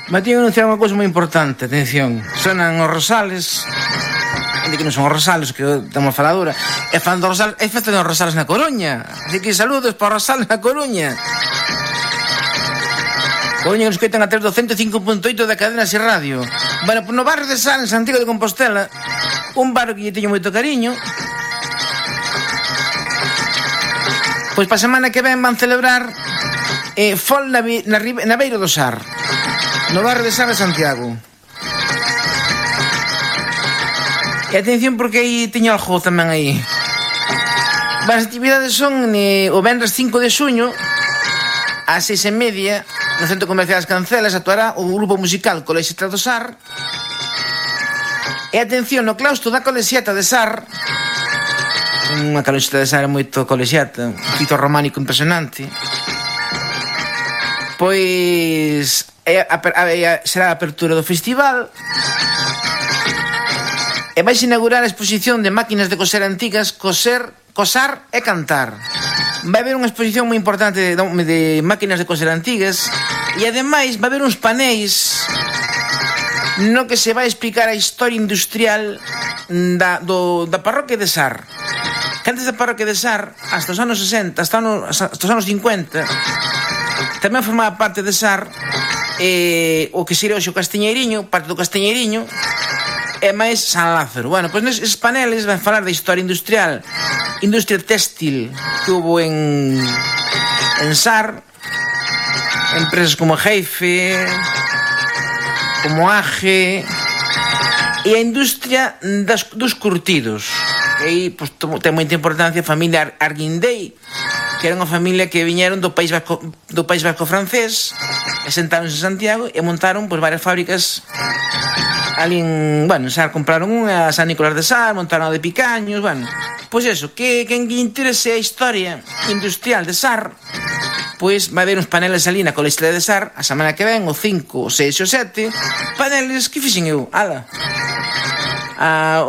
Matío anunciar unha cousa moi importante, atención. Sonan os Rosales, de que non son os Rosales, que temos a faladura. E fan dos Rosales, e fan dos Rosales na Coruña. Así que saludos para os Rosales na Coruña. Coruña que nos coitan a través do 105.8 da cadena Ser Radio. Bueno, pues no barrio de Sar, en Santiago de Compostela, un barrio que lle teño moito cariño. Pois para a semana que ven van celebrar Fol na beira do Sar, no barrio de Sar de Santiago. E atención porque aí teño algo tamén aí. As actividades son o venres 5 de xuño ás 6:30 no Centro Comercial das Cancelas actuará o grupo musical Colexeta do Sar. E atención, no claustro da Colexeta de Sar, unha Colexeta de Sar é moito colexeta, un fito románico impresionante, pois será a apertura do festival e vais inaugurar a exposición de máquinas de coser antigas, cosar e cantar. Vai haber unha exposición moi importante de máquinas de coser antigas e ademais vai haber uns paneis no que se vai explicar a historia industrial da parroquia de Sar. Que antes da parroquia de Sar, hasta os anos 60, hasta os anos 50, tamén formaba parte de Sar o que sería hoxe o Castiñeiriño, parte do Castiñeiriño, e máis San Lázaro. Bueno, pois neses paneles van falar da historia industrial, industria téxtil que hubo en Sar, empresas como Geife, como Age, e a industria dos curtidos. E aí pues, ten moita importancia a familia Arguindei, que era unha familia que viñeron do País Vasco francés e sentáronse en Santiago e montaron pues, varias fábricas ali en Sar. Compraron unha a San Nicolás de Sar, montaron a de Picaños. Bueno, pois eso, que quen interese a historia industrial de Sar, pois vai haber uns paneles ali na Colexeta de Sar a semana que ven, o 5, o 6 e o 7, paneles que fixen eu,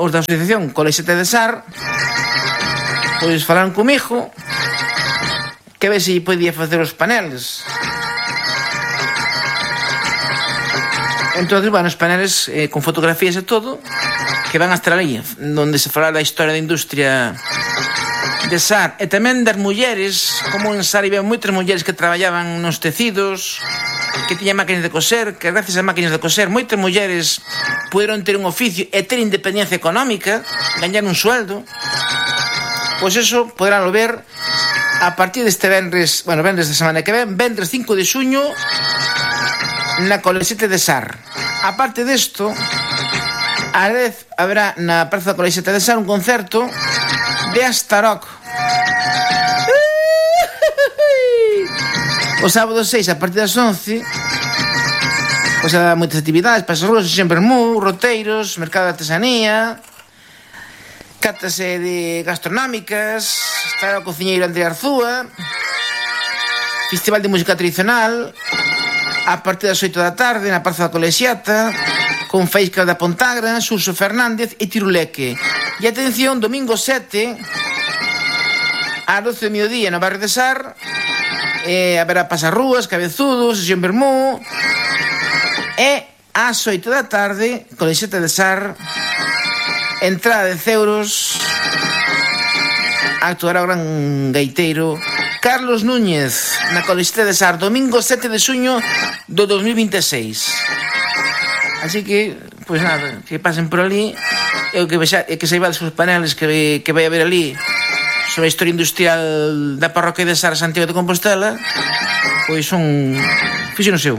os da asociación Colexeta de Sar pois falaron comigo que ve se podía facer os paneles. Entonces, bueno, os paneles con fotografías e todo que van a estar ali, donde se falará da historia da industria de Sar e tamén das mulleres, como en Sar había moitas mulleres que traballaban nos tecidos, que tiñan máquinas de coser, que gracias ás máquinas de coser moitas mulleres puderon ter un oficio e ter independencia económica, gañar un sueldo. Pois eso poderánlo ver a partir deste venres da semana que ven, venres 5 de xuño na Colexeta de Sar. Aparte desto, a vez haberá na Praza da Colexeta de Sar un concerto de Astarock o sábado 6 a partir das 11. Pois há moitas actividades, pasas ruas, sempre roteiros, mercado de artesanía, catas de gastronómicas, estará o cociñeiro André Arzúa, festival de música tradicional a partir das 8 da tarde na Praza da Colexeta, con Faísca da Pontagra, Xurxo Fernández e Tiruleque. E atención, domingo 7 ás 12 do mediodía no barrio de Sar, haberá pasarrúas, cabezudos, sesión vermú, e ás 8 da tarde Colexeta de Sar, entrada de €10, actuará o gran gaiteiro Carlos Núñez na Colexeta de Sar, domingo 7 de xuño do 2026. Así que, pois nada, que pasen por ali e que saibades os paneles que vai haber ali sobre a historia industrial da parroquia de Sar, Santiago de Compostela, pois son fixen o seu.